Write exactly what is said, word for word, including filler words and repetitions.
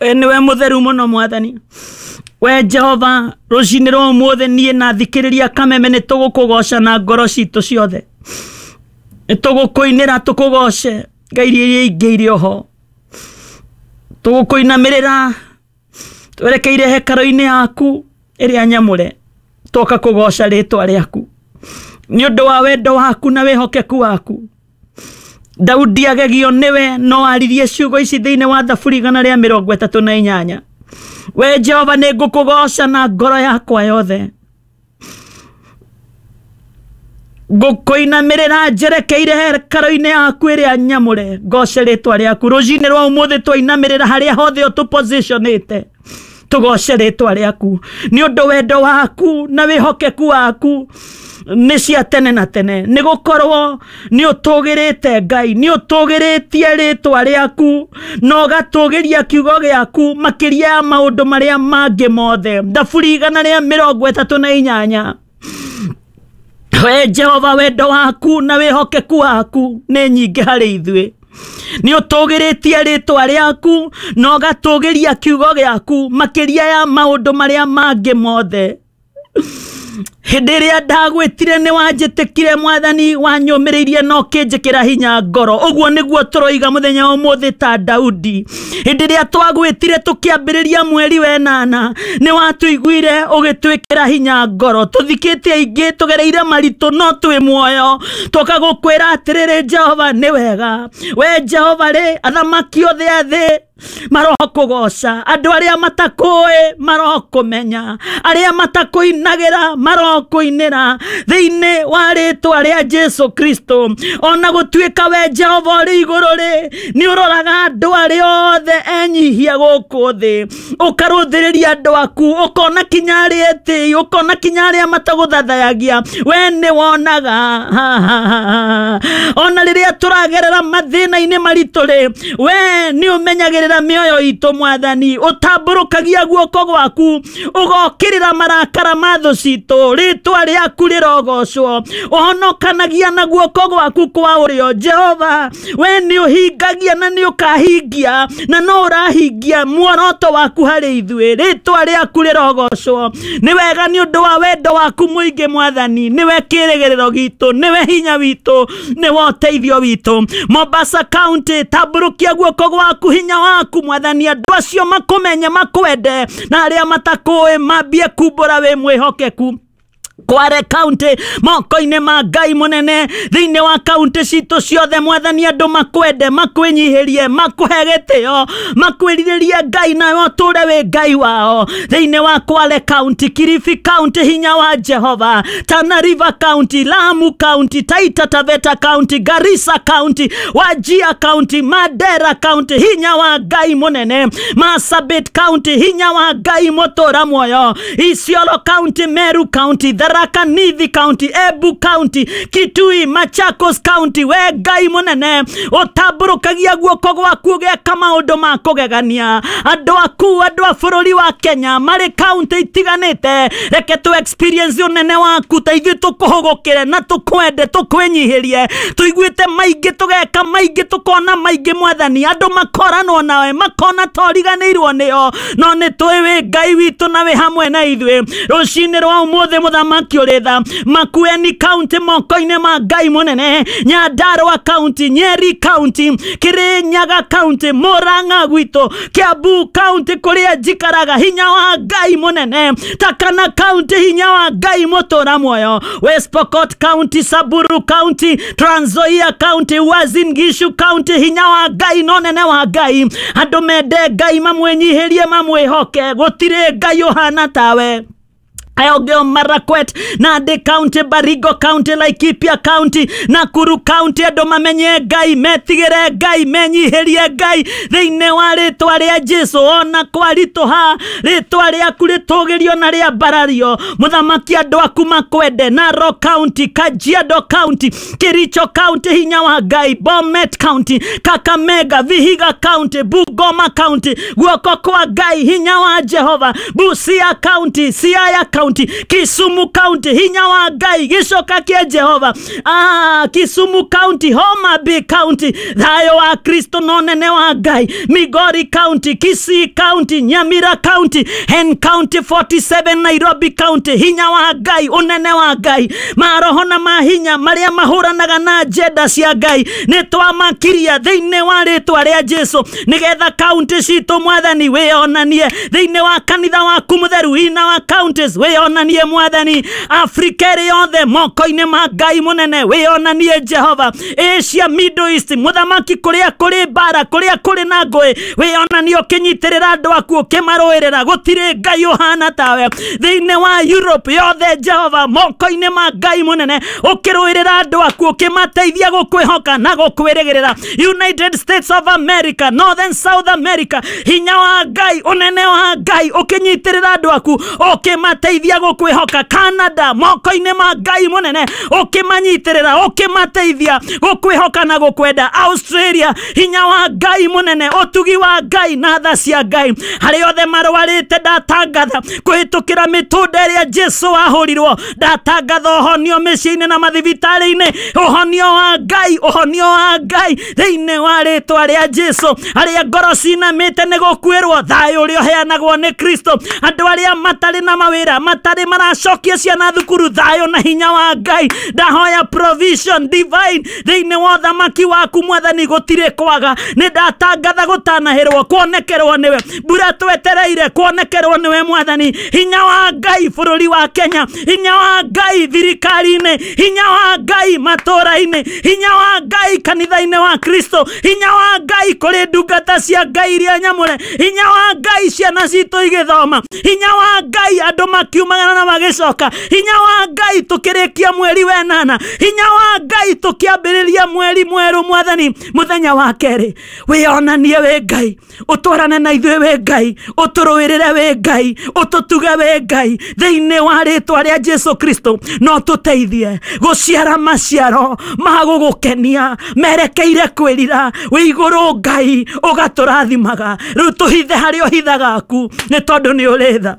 We nĩwe mũtheru mũno mwathani. We Jehova, rũcinĩ rwa ũmũthĩ niĩ na thikĩrĩria Kameme nĩ tũgũkũgoca na ngoro citũ ciothe. Nĩ tũgũkũinĩra tũkũgoce ngai iria ingĩ irĩ oho. Tũgũkũinamĩrĩra twerekeire hekarũ-inĩ yaku ĩrĩa nyamũre, twoka kũgoca rĩtwa rĩaku nĩ ũndũ wa wendo waku na wĩhokeku waku. Daudi agegio nĩwe no aririe ciugo ici thĩinĩ wa Thaburi igana rĩa mĩrongo ĩtatũ na inyanya. We Jehova, nĩ ngũkũgoca na ngoro yakwa yothe, ngũkũinamĩrĩra njerekeire hekarũ-inĩ yaku ĩrĩa nyamũre, ngoce rĩtwa rĩaku. Rũcinĩ rwa ũmũthĩ twainamĩrĩra harĩa hothe ũtũpositionĩte, tũgoce rĩtwa rĩaku nĩ ũndũ wendo waku na wĩhokeku waku nĩ cia tene na tene. Nĩ gũkorwo nĩ ũtũgĩrĩte Ngai, nĩ ũtũgĩrĩtie rĩtwa rĩaku na ũgatũgĩria kiugo gĩaku makĩria ya maũndũ marĩa mangĩ mothe. Thaburi igana rĩa mĩrongo ĩtatũ na inyanya. We Jehova, wendo waku na wĩhokeku waku nĩ nyingĩ harĩ ithuĩ. Nĩ ũtũgĩrĩtie rĩtwa rĩaku na ũgatũgĩria kiugo gĩaku makĩria ya maũndũ marĩa mangĩ mothe. Hĩndĩ ĩrĩa ndagwĩtire nĩ wanjĩtĩkire mwathani, wanyũmĩrĩirie na ũkĩnjĩkĩra hinya ngoro. Ũguo nĩguo tũroiga mũthenya wa ũmũthĩ ta Daudi. Hĩndĩ ĩrĩa twagwĩtire tũkĩambĩrĩria mweri wa ĩnana, nĩ watũiguire ũgĩtwĩkĩra hinya ngoro. Tũthikĩte aingĩ, tũgereire maritũ, no twĩ muoyo. Twoka gũkwĩra atĩrĩrĩ, Jehova nĩ wega. We Jehova rĩ, athamaki othe a thĩ marokũgoca, andũ arĩa matakũĩ marokũmenya, arĩa matakũinagĩra marokũinĩra thĩinĩ wa rĩtwa rĩa Jesu Kristo. Ona gũtuĩka we Jehova ũrĩ igũrũ rĩ, nĩ ũroraga andũ arĩa othe enyihia gũkũ thĩ, ũkarũthĩrĩria andũ aku, ũkona kinya arĩa etĩi, ũkona kinya arĩa matagũthathayagia, we nĩ wonaga. Ona rĩrĩa tũragerera mathĩna-inĩ maritũ rĩ, we nĩ ũmenyagĩrĩra mĩoyo itũ mwathani, ũtambũrũkagia guoko gwaku ũgokĩrĩra marakara ma thũ citũ. Rĩtwa rĩaku rĩrogocwo, ũhonokanagia na guoko gwaku kwa ũrĩo. Jehova, we nĩ ũhingagia na nĩ ũkahingia na no ũrahingia muoroto waku harĩ ithuĩ. Rĩtwa rĩaku rĩrogocwo. Nĩ wega nĩ ũndũ wa wendo waku mũingĩ mwathani, nĩwe kĩĩrĩgĩrĩro gitũ, nĩwe hinya witũ, nĩwe ũteithio witũ. Mombasa County, tambũrũkia guoko gwaku, hinya waku mwathani, andũ acio makũmenye makwende, na arĩa matakũĩ mambie kumbũra wĩ mwĩhokeku. Kware County, moko-inĩ ma Ngai mũnene, thĩinĩ wa kaunti citũ ciothe mwathani, andũ makwende, makwĩnyihĩrie, makũhe gĩtĩo, makwĩrirĩrie Ngai, nawe ũtũre wĩ Ngai wao. Thĩinĩ wa Kwale County, Kilifi County, hinya wa Jehova, Tana River County, Lamu County, Taita Taveta County, Garissa County, Wajir County, Mandera County, hinya wa Ngai mũnene, Marsabit County, hinya wa Ngai mũtũra muoyo, Isiolo County, Meru County, Tharaka Nithi County, Embu County, Kitui, Machakos County, we Ngai mũnene ũtambũrũkagia guoko gwaku ũgeka maũndũ ma kũgegania. Andũ aku, andũ a bũrũri wa Kenya marĩ kaunti itiganĩte, reke tũ experience ũnene waku, ta ithuĩ tũkũhũgũkĩre na tũkwende, tũkwĩnyihĩrie. Tũiguĩte maingĩ, tũgeka maingĩ, tũkona maingĩ mwathani, andũ makoranwo nawe, makona ta ũriganĩirwo nĩo, no nĩ tũĩ wĩ Ngai witũ na wĩ hamwe na ithuĩ. Rũcinĩ rwa ũmũthĩ mũthamaki ũrĩ tha, Makueni County moko-inĩ ma Ngai mũnene, Nyandarua County, Nyeri County, Kirinyaga County, Murang'a gwitũ, Kiambu County kũrĩa njikaraga, hinya wa Ngai mũnene, Takana County, hinya wa Ngai mũtũra muoyo, West Pokot County, Samburu County, Trans Nzoia County, Uasin Gishu County, hinya wa Ngai na ũnene wa Ngai. Andũ mende Ngai, mamwĩnyihĩrie, mamwĩhoke, gũtirĩ Ngai ũhana tawe. Elgeyo Marakwet, Nandi County, Baringo County, Laikipia County, Nakuru County, andũ mamenye Ngai, metigĩre Ngai, menyihĩrie Ngai thĩinĩ wa rĩtwa rĩa Jesu. Ona kwaritũha, rĩtwa rĩaku rĩtũgĩrio na rĩambarario. Mũthamaki, andũ aku makwende. Narok County, Kajiado County, Kericho County, hinya wa Ngai, Bomet County, Kakamega, Vihiga County, Bungoma County, guoko kwa Ngai, hinya wa Jehova, Busia County, Siaya County, County, Kisumu County, hinya wa Ngai gĩcoka kĩa Jehova. Ah, Kisumu County, Homa Bay County, thayũ wa Kristo na ũnene wa Ngai. Migori County, Kisii County, Nyamira County, Hen County forty-seven, Nairobi County, hinya wa Ngai, ũnene wa Ngai, maroho na mahinya marĩa mahũranaga na agenda cia Ngai nĩ twamakiria thĩinĩ wa rĩtwa rĩa Jesu, nĩgetha kaunti citũ Mwathani wĩonanie thĩinĩ wa kanitha waku mũtheru, ina wa counties wĩonanie Mwathani, Afrika ĩrĩ yothe moko-inĩ ma Ngai mũnene wĩonanie Jehova, Asia, Middle East, mũthamaki kũrĩa kũrĩ mbara, kũrĩa kũrĩ na ngũĩ, wĩonanie ũkĩnyitĩrĩra andũ aku ũkĩmarũĩrĩra, gũtirĩ Ngai ũhana tawe. Thĩinĩ wa Europe yothe Jehova moko-inĩ ma Ngai mũnene ũkĩrũĩrĩra andũ aku ũkĩmateithia gũkwĩhoka na gũkwĩrĩgĩrĩra. United States of America, Northern South America, hinya wa Ngai, ũnene wa Ngai ũkĩnyitĩrĩra andũ aku ũkĩmateithia gũkwĩhoka. Canada moko-inĩ ma Ngai mũnene ũkĩmanyitĩrĩra ũkĩmateithia gũkwĩhoka na gũkwenda. Australia, hinya wa Ngai mũnene, ũtugi wa Ngai na tha cia Ngai harĩ othe marwarĩte, ndatangatha kũhĩtũkĩra mĩtũnda ĩrĩa Jesu ahũrirwo, ndatangatha ũhonio mĩciĩ-inĩ na mathibitarĩ-inĩ, ũhonio wa Ngai, ũhonio wa Ngai thĩinĩ wa rĩtwa rĩa Jesu. Arĩa ngoro cinamĩte nĩ gũkuĩrwo, thayũ ũrĩa ũheanagwo nĩ Kristo. Andũ arĩa matarĩ na mawĩra, matarĩ maracokia ciana thukuru, thayũ na hinya wa Ngai. Ndahoya provision divine thĩinĩ wa ũthamaki waku Mwathani, gũtirĩ kwaga. Nĩ ndatangatha gũtanahĩrwo, kuonekerwo nĩwe, mbura twetereire kuonekerwo nĩwe Mwathani. Hinya wa Ngai bũrũri wa Kenya, hinya wa Ngai thirikari-inĩ, hinya wa Ngai matũũra-inĩ, hinya wa Ngai kanitha-inĩ wa Kristo, hinya wa Ngai kũrĩ ndungata cia Ngai iria nyamũre, hinya wa Ngai ciana citũ igĩthoma, hinya wa Ngai andũ makiumagara na magĩcoka, hinya wa Ngai tũkĩrĩkia mweri wenana, hinya wa Ngai tũkĩambĩrĩria mweri mwerũ Mwathani. Mũthenya wa kerĩ wĩonanie wĩ Ngai, ũtwarane na ithuĩ wĩ Ngai, ũtũrũĩrĩre wĩ Ngai, ũtũtuge wĩ Ngai thĩinĩ wa rĩtwa rĩa Jesu Kristo. No tũteithie gũciara maciaro ma gũgũkenia merekeire kwĩrira wĩ igũrũ Ngai, ũgatũrathimaga. Rĩu tũhithe harĩa ũhithaga aku, nĩ tondũ nĩ ũrĩ tha.